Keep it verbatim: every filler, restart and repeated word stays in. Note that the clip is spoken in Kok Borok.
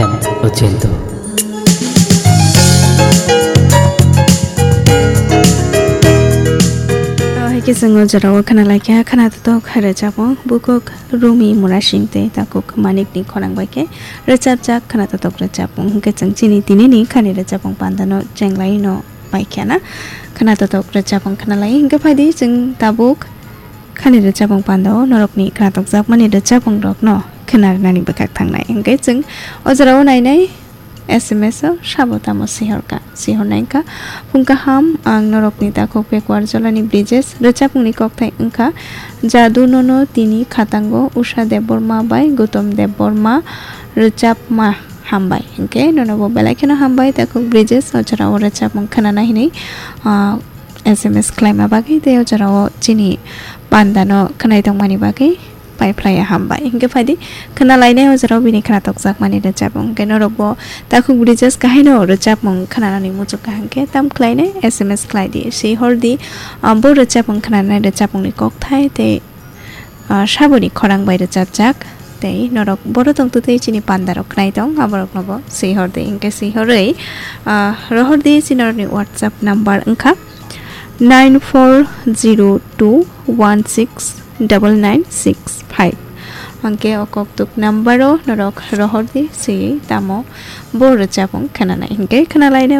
Ochento. Hai khe chwng o jorao khna laikha, khna totok rwchapmung, bukhuk Rumi Murasing tei takhuk Manikni khorang bai khe rwchapjak khna totok rwchapmung. Hwnkhe chwng chini tinini khani rwchapmung pandano chenglaino paikha na. Khna totok rwchapmung khna lai, hwnkhe phaidi chwng tabuk khani rwchapmung pandao norokni khna tokjakmani rwchapmungrokno khna rwnani bwkhak thangnai. Hwnkhe chwng o jorao nainai S M S o sabo tamo sihorkha, sihornai wngkha. Phung kaham, ang norokni takhuk Pekuar Jolani Brijesh, rwchapmungni kokthai wngkha Jadu Nono Tini Khatango, Usha Debbarma bai Gautam Debbarma, rwchapma hambai. Hwnkhe nono bo belai kheno hambai, takhuk Brijesh o jorao rwchapmung khwnana hinwi, ah, S M S khlaima bagwi tei o jorao chini pandano khwnai tongmani bagwi paiphlaiya hambai. Hwnkhe phaidi khna lainai o jorao bini khna tokjakmani rwchapmung. Hwnkhe norokbo takhuk Brijesh kahaino rwchapmung khwnanani muchukha hwnkhe tam khlainai S M S khlaidi, sihordi, ah, bo rwchapmung khwnanai rwchapmungni kokthai tei ah, saboni khorang bai rwchapjak. Tei norok boro tongtwtwi chini pandarok khnai tong, aborokno bo swi hor di. Hwnkhe swi horwi, ah, rohor di chini norokni WhatsApp number wngkha nine four zero two one six double nine six five. Hwnkhe o koktuk number o norok rohor di, swi tamo bo rwchapmung khwnanai. Hwnkhe khwnalaina